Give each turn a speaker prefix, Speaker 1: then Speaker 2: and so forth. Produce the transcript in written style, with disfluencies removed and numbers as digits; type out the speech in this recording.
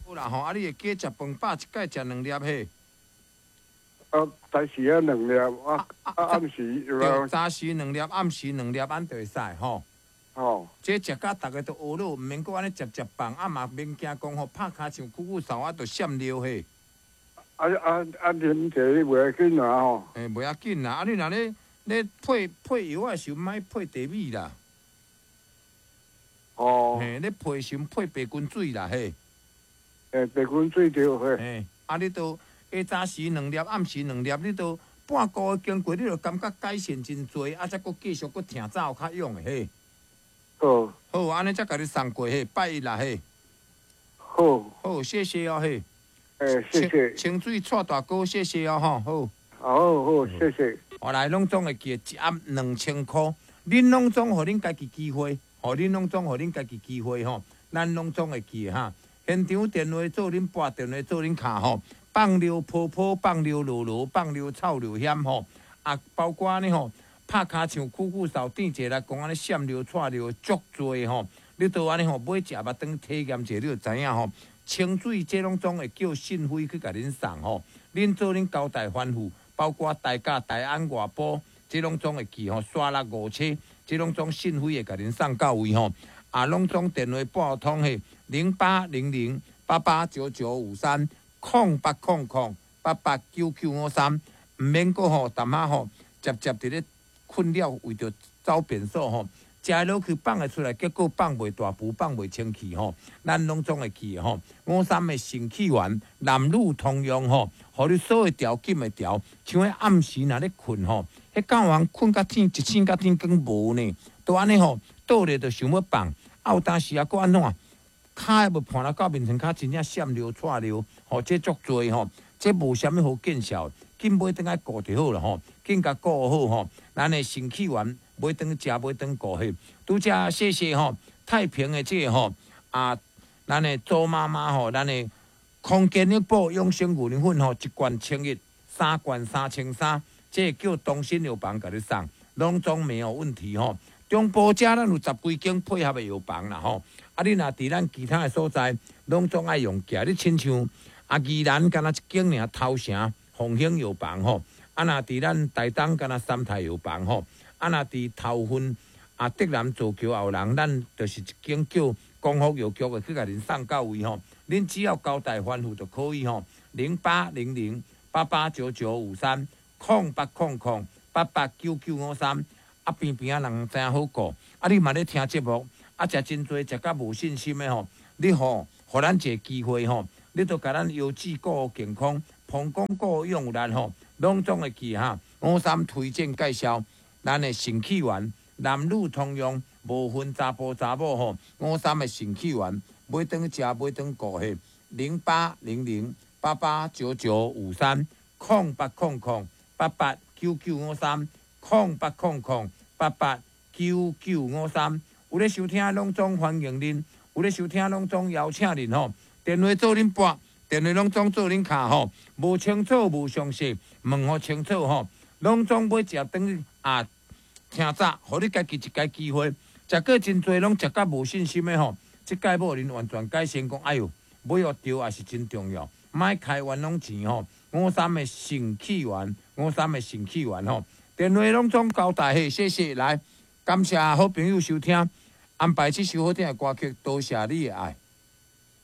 Speaker 1: 好啦吼，啊你會記食飯飽一擺食兩粒嘿？
Speaker 2: 啊，早時啊兩粒，啊啊暗時
Speaker 1: 對，早時兩粒，暗時兩粒，按就會使吼。
Speaker 2: 吼。
Speaker 1: 這食甲逐个都學了，毋免閣按呢食食放，啊嘛免驚講吼拍跤像久久嗽啊，就閃尿嘿。
Speaker 2: 啊啊啊！啉茶袂要緊啊吼。
Speaker 1: 欸，袂要緊啦，啊你若咧咧配配藥仔時陣，莫配茶米啦。
Speaker 2: 哦。
Speaker 1: 嘿，咧配時陣配白滾水啦嘿。
Speaker 2: 欸，白滾水對嘿。
Speaker 1: 嘿，啊你都下早時兩粒，暗時兩粒，你都半個月經過，你就感覺改善真濟，啊才閣繼續閣疼走較勇的嘿。
Speaker 2: 好。
Speaker 1: 好，按呢才共你送過嘿，拜一啦嘿。
Speaker 2: 好。
Speaker 1: 好，謝謝哦嘿。
Speaker 2: 欸，謝謝。
Speaker 1: 清水蔡大哥，謝謝哦吼，好。
Speaker 2: 好好，謝謝。
Speaker 1: 後來攏總會記得一盒2000箍，恁攏總予恁家己機會，予恁攏總予恁家己機會吼，咱攏總會記哈。現場電話做恁撥，電話做恁敲吼，放尿泡泡，放尿落落，放尿臭尿險吼，啊，包括呢吼，拍跤像久久嗽，甜者來講按呢閃尿、掣尿足濟吼，你都按呢吼買食捌當體驗者，你就知影吼。清水這攏總會叫信輝去共恁送吼，恁做恁交代吩咐，包括台甲、台安、外埔，這攏總會寄吼，沙鹿五車，這攏總信輝會共恁送到位吼。啊，攏總電話撥通係0800889953，0800889953，毋免閣吼，淡仔吼，接接佇咧困擾，為著走便所吼。食落去放會出來，結果放袂大步，放袂清氣吼。咱攏總會記吼，五三的腎氣丸，男女通用吼，予你所有調緊會調。像彼暗時若咧睏吼，彼敢有人睏甲天一醒甲天光無呢？都按呢吼，倒咧就想欲放，啊有當時啊閣按怎？跤會盤來到面前，跤真正閃尿、掣尿，吼，這足濟吼，這無啥物好見效，緊買轉來顧就好啦吼，緊共顧好吼，咱的腎氣丸。買轉食，買轉顧嘿。拄才謝謝吼，太平的這個吼啊，咱的祖媽媽吼，咱的康健力寶養生牛奶粉吼，一罐1100，三罐3300，這個叫東新藥房共你送，攏總沒有問題吼。中部遮咱有十幾間配合的藥房啦吼，啊，你若佇咱其他的所在，攏總愛用寄。你親像啊，宜蘭敢若一間爾頭城鳳興藥房吼，啊，若佇咱台東敢若三泰藥房吼。啊，若佇頭份啊，竹南造橋後人，咱就是一間叫光復藥局的去共恁送到位吼。恁只要交代吩咐就可以吼。0800889953，0800889953。啊，邊邊仔人知影好顧。啊，你嘛咧聽節目，啊，食真濟，食甲無信心的吼，你吼，予咱一個機會吼，你都共咱腰子顧健康，膀胱顧用力吼，攏總會記哈。五三推薦介紹。咱的腎氣丸，男女通用，無分查埔查某吼。五三的腎氣丸，買轉食，買轉顧嘿。0800889953，0800889953，0800889953。有咧收聽，攏總歡迎恁；有咧收聽，攏總邀請恁吼。電話做恁撥，電話攏總做恁敲吼。無清楚，無詳細，問予清楚吼。攏總買食轉啊！聽早，予你家己一個機會，食過真濟，攏食甲無信心的吼。這擺無恁完全改善，講哎喲，買藥對也是真重要，莫開冤枉錢吼。五三的腎氣丸，五三的腎氣丸吼。電話攏總交代嘿，謝謝來，感謝好朋友收聽，安排這首好聽的歌曲，多謝你的愛。